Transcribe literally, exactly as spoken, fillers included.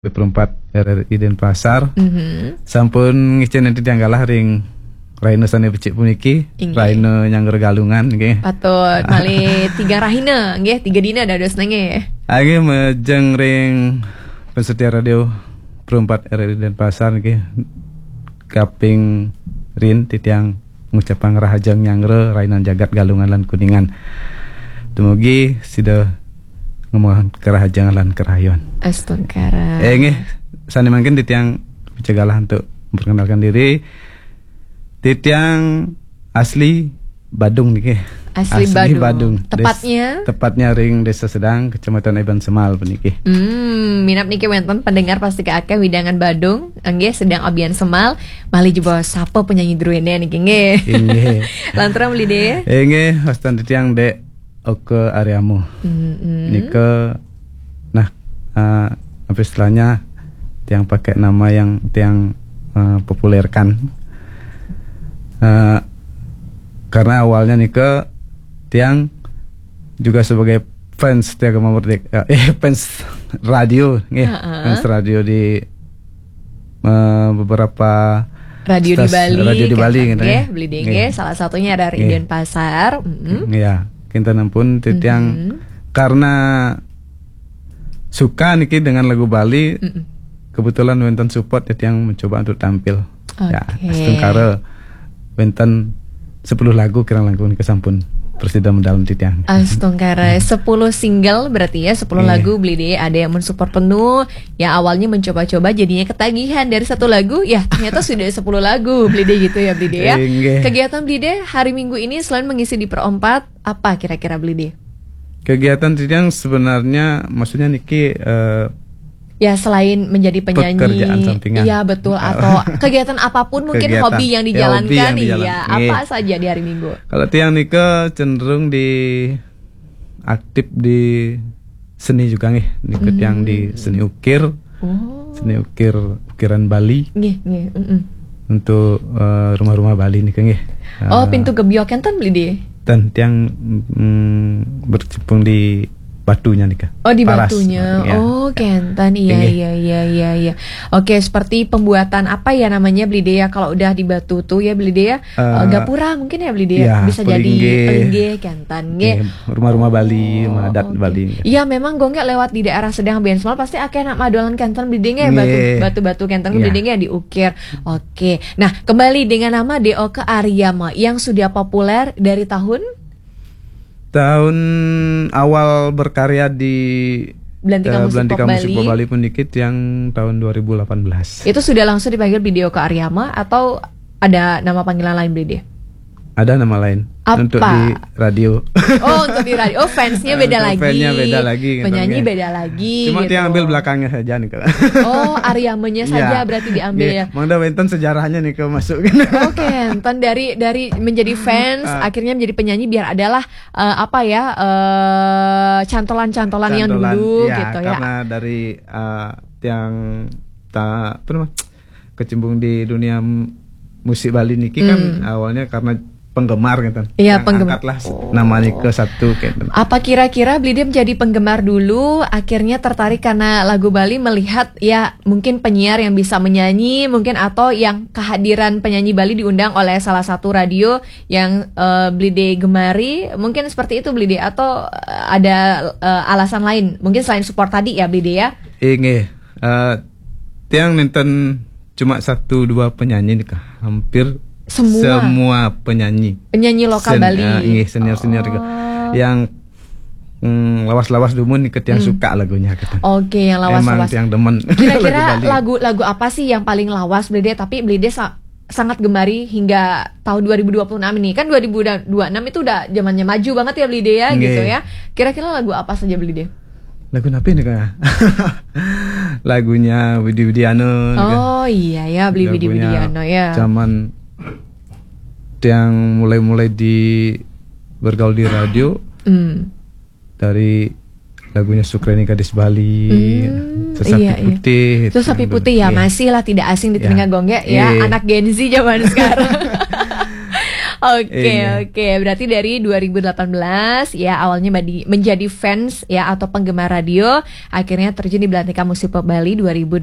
B Perempat R R I Denpasar. Mhm. Sampun ngicén titiang galah ring rahina sané becik puniki, inggih, rahina Nyangra Galungan, nggih. Patut, malih tiga rahina, nggih, tiga dina dadosné, nggih. Nggih, majeng ring pensetia radio Perempat R R I Denpasar, nggih. Kaping rin titiang ngucapang rahajeng Nyangra, rahinan jagat Galungan lan Kuningan. Dumugi sida ngemuang karahajengan lan karahayuan. Astungkara. Eh, nggih, sané mangkin titiang picagalah untuk memperkenalkan diri. Titiang asli Badung niki. Asli Badung. Tepatnya? Tepatnya ring Desa Sedang, Kecamatan Eban Semal puniki. Hmm, minab niki wénten pendengar pasti akéh wewidangan Badung, nggih, Sedang Eban Semal, malih jebos sapa penyanyi druéné niki, nggih. Inggih. Lanturang Beli Dé. Inggih, wastan titiang Dék Oka Ariama. Mm-mm. Nika, nah, eh, apa istilahnya, tiang pakai nama yang tiang, eh, populerkan. Eh, karena awalnya nika tiang juga sebagai fans Tiagama Merdeka, eh, fans radio, nggih. Heeh. Fans radio di, eh, beberapa radio di stas-, Bali, radio di Bali, gitu, nggih, ya. Beli Dé, nggih. Salah satunya ada di Denpasar. Mm-mm. Ya, kinten ampun titiang, mm-hmm, karena suka niki dengan lagu Bali, mm-mm, kebetulan wénten support, titiang mencoba untuk tampil. Ya, oke. Astungkara wénten sepuluh lagu kirang langkung nika sampun prasida medal titiang. Astungkara, hmm, sepuluh single berarti ya, sepuluh, iya, lagu Beli Dé, ada yang mensupport penuh. Ya, awalnya mencoba-coba, jadinya ketagihan dari satu lagu, ya ternyata sudah sepuluh lagu Beli Dé gitu ya, Beli Dé ya. Inggih. Kegiatan Beli Dé hari Minggu ini selain mengisi di Perempat, apa kira-kira Beli Dé? Kegiatan titiang sebenarnya, maksudnya niki, eh, ya, selain menjadi penyanyi, pekerjaan sampingan. Iya, betul. Atau kegiatan apapun mungkin, kegiatan, hobi yang, ya, hobi dijalankan, yang dijalan-, iya, nggih, apa saja di hari Minggu? Kalau tiang nika cenderung di aktif di seni juga nggih. Nika tiang di, hmm, seni ukir. Oh. Seni ukir, ukiran Bali. Nggih, nggih, mm-mm. Untuk, eh, rumah-rumah Bali nika nggih. Oh, eh, pintu gebyok enten Beli Dé? Ten, tiang, mm, berkecimpung di batunya nika. Oh, di batunya. Paras, ya. Oh, kenten. Iya, inggih, iya, iya, iya, iya. Oke, seperti pembuatan apa ya namanya, Beli Dé ya, kalau udah di batu tuh ya, Beli Dé ya? Eh, eh, gapura mungkin ya, Beli Dé ya? Ya, bisa jadi pelinggih. Pelinggih, kenten, nggih. Iya, rumah-rumah Bali, oh, rumah adat, oke, Bali. Iya, memang Gung, nggih, lewat di daerah Sedang Eban Semal pasti akéh nak madolan kenten Beli Dé nggih, batu, nggih, batu-batu kenten, iya, Beli Dé nggih diukir. Oke. Nah, kembali dengan nama Dék Oka Ariama yang sudah populer dari tahun? Tahun awal berkarya di Belantika, eh, Musik, Belantika Pop Musik Bali. Pop Bali pun dikit yang tahun dua ribu delapan belas. Itu sudah langsung dipanggil Beli Dé Oka Ariama atau ada nama panggilan lain, Beli Dé? Ada nama lain. Apa? Untuk di radio. Oh, untuk di radio. Oh, fansnya beda lagi. Fansnya beda lagi, gitu, penyanyi, nggih, beda lagi, cuma gitu, tiang ambil belakangnya saja nih, kalau. Oh, Ariamanya saja berarti diambil, ya. Mangda wénten sejarahnya nih, kalau masuk, gitu. Oke, enten dari, dari menjadi fans, ah, akhirnya menjadi penyanyi biar adalah, eh, apa ya, eh, cantolan-cantolan yang dulu, ya, gitu ya. Karena dari, eh, tiang ta-, apa namanya, kecimpung di dunia m-, musik Bali niki kan, hmm, awalnya karena penggemar gitu. Iya, yang penggemar. Angkatlah s-, oh, namanya ke satu gitu. Apa kira-kira Beli Dé menjadi penggemar dulu, akhirnya tertarik karena lagu Bali, melihat ya mungkin penyiar yang bisa menyanyi, mungkin, atau yang kehadiran penyanyi Bali diundang oleh salah satu radio yang, eh, Beli Dé gemari, mungkin seperti itu Beli Dé, atau, eh, ada, eh, alasan lain, mungkin selain support tadi ya Beli Dé ya? Inggih, eh, tiang nénten cuma satu dua penyanyi nih, Kak. Hampir semua, semua penyanyi. Penyanyi lokal Bali. Sen-, eh, nggih, senior-senior juga. Oh. Yang, mm, lawas-lawas dumun nih, tiang, hmm, suka lagunya, gitu. Oke, yang lawas-lawas. Emang tiang demen. Kira-kira lagu Bali, lagu, lagu apa sih yang paling lawas Beli Dé, tapi Beli Dé sa-, sangat gemari hingga tahun dua ribu dua puluh enam ini? Kan dua ribu dua puluh enam itu udah zamannya maju banget ya, Beli Dé ya, nggih, gitu ya. Kira-kira lagu apa saja, Beli Dé? Lagu apa nih, Kak? Lagunya Widi Widiana, gitu. Oh iya ya, Beli Widi Widiana ya. Zaman tiang mulai-mulai di bergaul di radio, hmm, dari lagunya Sukreni Gadis Bali, hmm, Sesapi, iya, iya. Putih, itu. Sesapi Putih ya, iya, masih lah tidak asing di telinga, iya, Gung, ya. Iya. Anak Gen Z zaman sekarang. Oke, Iya. Oke. Berarti dari dua ribu delapan belas ya, awalnya madi- menjadi fans ya atau penggemar radio, akhirnya terjun di Belantika Musik Pop Bali dua ribu dua puluh satu.